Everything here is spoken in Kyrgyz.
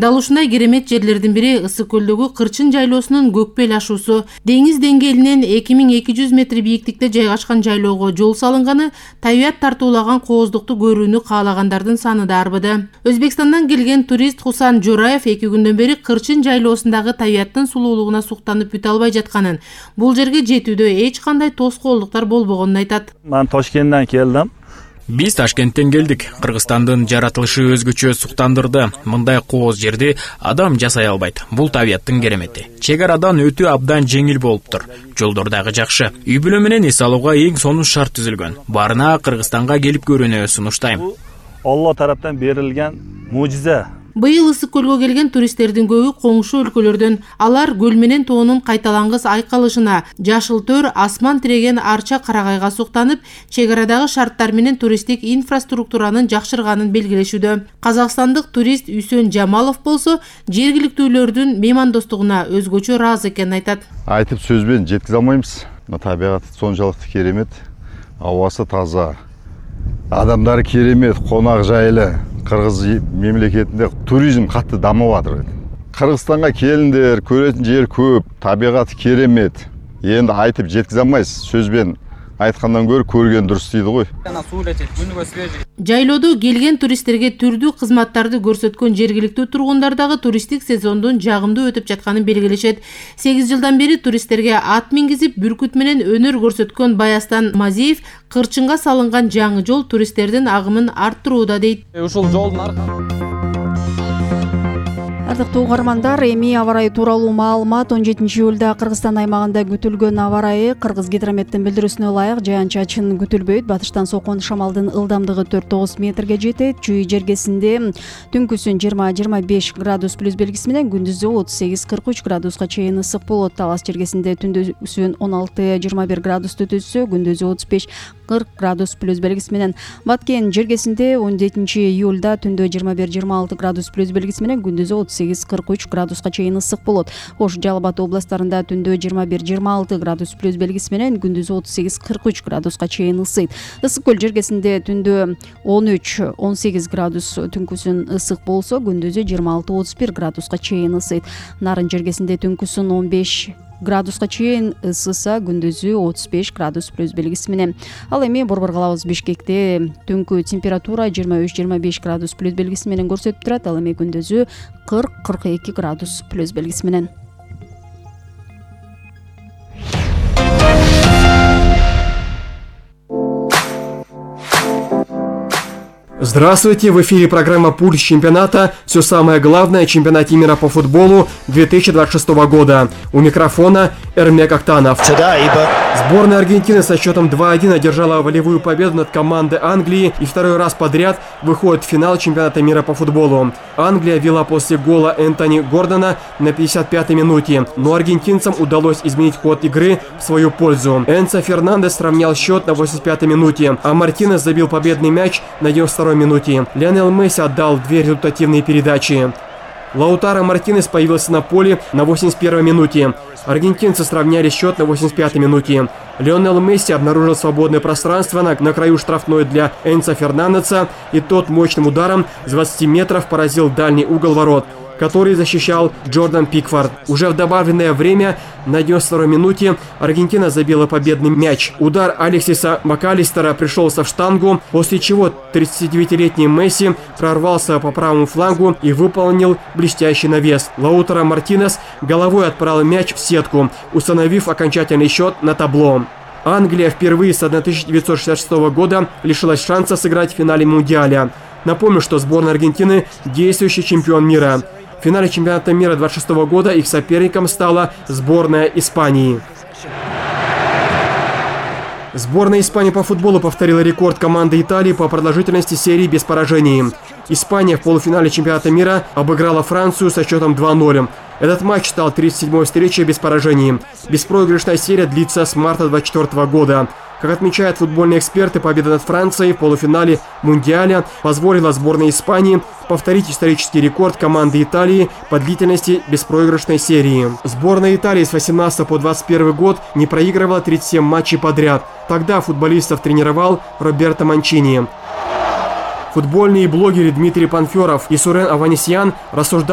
Дал ушундай керемет жерлердин бири Ысык көлдөгү Кырчын жайлоосунун көкпел ашуусу. Деңиз деңгээлинен 2200 метр бийиктикте жайгашкан жайлоого жол салынганы табият тартуулаган кооздукту көрүүнү каалагандардын саны да арбыды. Өзбекстандан келген турист Хусан Жораев 2 күндөн бери Кырчын жайлоосундагы табияттын сулуулугуна суктанып бүтө албай жатканын, бул жерге жетүүдө эч кандай тоскоолдуктар болбогонун айтат. Мен Ташкенттен келдим. Биз Ташкенттен келдик. Кыргызстандын жаратылышы өзгөчө суктандырды. Мындай кооз жерди адам жасай албайт. Бул табияттын керемети. Чек арадан өтүү абдан жеңил болуптур. Жолдор дагы жакшы. Үй бүлө менен эс алууга эң сонун шарт түзүлгөн. Барына Кыргызстанга келип көрүүнү сунуштайм. Алла тараптан берилген мужизе. Быйыл Ысык көлгө келген туристтердин көбү коңшу өлкөлөрдөн. Алар көл менен тоонун кайталангыс айкалышына, жашыл төр, асман тиреген арча карагайга суктанып, чек арадагы шарттар менен туристтик инфраструктуранын жакшырганын белгилешүүдө. Казакстандык турист Үсөн Жамалов болсо, жергиликтүүлөрдүн меймандостугуна өзгөчө ыраазы экенин айтат. Айтып сөз менен жеткизе албайбыз. Табиаты сончалыктуу керемет, абасы таза, адамдары керемет, конак жайлы. Кыргыз мемлекетинде туризм катты дамып атыр. Кыргызстанга келиңдер, көрөтүн жер көп, табигаты керемет. Энди айтып жеткизе албайсыз. Сөзбен айткандан көрө көргөн дурус дейди ғой. Жайлоодо келген туристтерге түрдүү кызматтарды көрсөткөн жергиликтүү тургундар дагы туристтик сезондун жагымдуу өтүп жатканын белгилешет. 8 жылдан бери туристтерге ат мингизип, бүркүт менен өнөр көрсөткөн Баястан Мазиев Кырчынга салынган жаңы жол туристтердин агымын арттырууда дейт. Ушул жолдун Ардактуу угармандар, эми аба ырайы тууралуу маалымат 17 июлда Кыргызстан аймагында күтүлгөн аба ырайы Кыргыз гидрометтин билдирүүсүнө ылайык жаан-чачын күтүлбөйт. Батыштан соккон шамалдын ылдамдыгы 4-9 метрге жетет. Чүй жергесинде түнкүсүн 20-25 градус плюс белгиси менен, күндүзү 38-43 градуска чейин ысык болот. Талас жергесинде түндүсүн 16-21 градусту түзсө, күндүзү 35-40 градус плюс белгиси менен. Баткен жергесинде 17 июлда түндө 21-26 градус плюс белгиси менен, күндүзү 38-43 градуска чейин ысык болот. Ош, Жалал Абад областарында түндө 21-26 градус плюс белгиси менен, күндүзү 38-43 градуска чейин ысыйт. Ысык көл жергесинде түндө 13-18 градус, түнкүсүн ысык болсо, күндүзү 26-31 градуска чейин ысыйт. Нарын жергесинде түнкүсүн 15 градуска чейин ысыса, күндүзү 35 градус плюс белгиси менен. Ал эми борбор калабыз Бишкекте түнкү температура 23-25 градус плюс белгиси менен көрсөтүп турат. Ал эми күндүзү 40-42 градус плюс белгиси менен. Здравствуйте! В эфире программа «Пульс чемпионата». Все самое главное о чемпионате мира по футболу 2026 года. У микрофона Эрмек Актанов. Сборная Аргентины со счетом 2-1 одержала волевую победу над командой Англии и второй раз подряд выходит в финал чемпионата мира по футболу. Англия вела после гола Энтони Гордона на 55-й минуте, но аргентинцам удалось изменить ход игры в свою пользу. Энцо Фернандес сравнял счет на 85-й минуте, а Мартинес забил победный мяч на 92-й минуте. Лионел Месси отдал 2 результативные передачи. Лаутаро Мартинес появился на поле на 81-й минуте. Аргентинцы сравняли счет на 85-й минуте. Лионел Месси обнаружил свободное пространство на краю штрафной для Энцо Фернандеса, и тот мощным ударом с 20 метров поразил дальний угол ворот, который защищал Джордан Пикфорд. Уже в добавленное время на 92-й минуте Аргентина забила победный мяч. Удар Алексиса Макалистера пришелся в штангу, после чего 39-летний Месси прорвался по правому флангу и выполнил блестящий навес. Лаутаро Мартинес головой отправил мяч в сетку, установив окончательный счет на табло. Англия впервые с 1966 года лишилась шанса сыграть в финале Мундиаля. Напомню, что сборная Аргентины – действующий чемпион мира. В финале чемпионата мира 2026 года их соперником стала сборная Испании. Сборная Испании по футболу повторила рекорд команды Италии по продолжительности серии без поражений. Испания в полуфинале чемпионата мира обыграла Францию со счетом 2-0. Этот матч стал 37-й встречей без поражений. Беспроигрышная серия длится с марта 2024 года. Как отмечают футбольные эксперты, победа над Францией в полуфинале Мундиаля позволила сборной Испании повторить исторический рекорд команды Италии по длительности беспроигрышной серии. Сборная Италии с 18 по 21 год не проигрывала 37 матчей подряд. Тогда футболистов тренировал Роберто Манчини. Футбольные блогеры Дмитрий Панферов и Сурен Аванесян рассуждали